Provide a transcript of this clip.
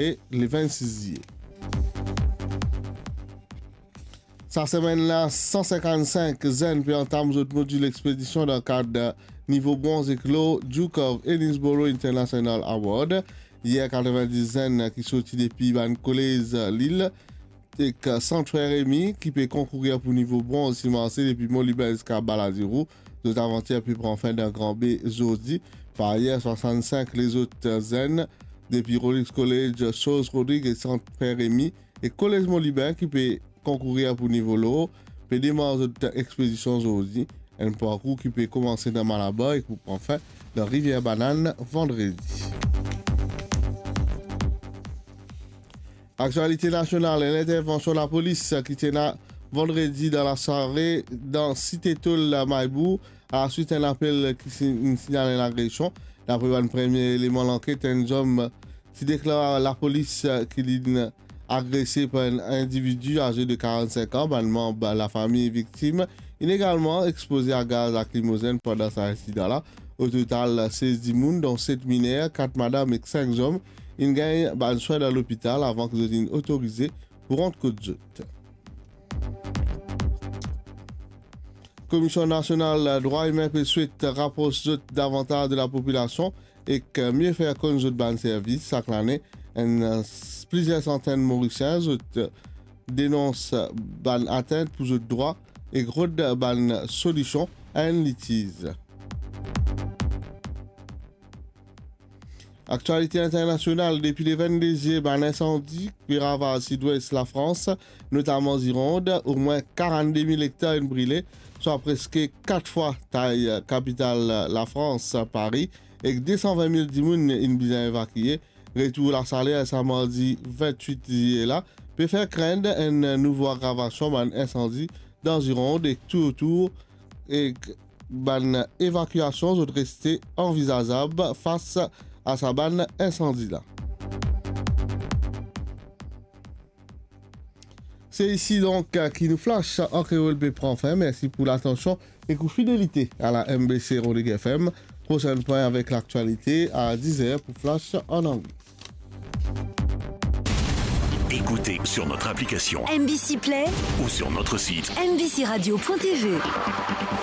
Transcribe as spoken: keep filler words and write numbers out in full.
e le vennsis ziye. Sa semenn la, san sinkannsink zenn pe antam zot modil expedition dan kad nivo bronz ek lor Duke of Edinburgh International Award. Yer, katrevin-dis zenn ki sorti depi bann kolez lil ek Sant Frère Rémy ki pe konkourir pou nivo bronz ti marse depi Moliben ziska Baladiro. Zot avantir pe pran fin dan Gran Be zordi. Par ayer, swasannsink lezot zenn depi Rollins College, Source Rodrigues e Sant Frère Rémy e Kolez Moliben ki pe konkourir pou nivo lor pe demar zot expedition zordi. Enn parkour ki pe koumanse dan Malabar e ki pou pran fin dan Rivière Banane vandredi. Aktialite nasional, enn intervansion lapolis ki ti ena vandredi dan lasware dan Site Tol Maybour, alaswit enn apel ki si-, inn signal enn agresion. Dapre bann premie eleman lanket, enn zom ti deklar lapolis ki linn agrese par enn individi aze de karannsink an. Bann manb lafami viktim inn egalman expoze a gaz lakrimozenn pandan sa insidan la. O total, sez dimoun, dont set miner, kat madam ek sink zom, inn gagn bann swin dan lopital avan ki zot inn otorize pou rant kot zot. Komision Nasional Drwa Imin pe swet rapros zot davantaz de lapopilasion ek mie fer konn zot bann servis. Sak lane, enn, plizier santenn Morisien zot denons bann atint pou zot drwa ek rod bann solision a enn litiz. Aktialite internasional, depi le vennde zie, bann insandi pe ravaz sidwes Lafrans, notaman Zironn, omwin karannde mil ektar inn brile, swa preske kat fwa tay kapital Lafrans, Pari, ek de san vin mil dimoun inn bizin evakie. Retour lasaler sa mardi vintwit ziye la pe fer krenn enn nouvo agravasion bann insandi dan Zironn ek toutour, ek bann evakiasion zot reste anvizazab fas a sa bann insandi la. Se isi donk ki nou Flash an Kreol pe pran fin. Mersi pou latansion ek ou fidelite a la M B C Rodrigues F M. Prosenn pwin avek laktialite a diz er pou Flash an angle. Écoutez sur notre application M B C Play ou sur notre site M B C radio point T V.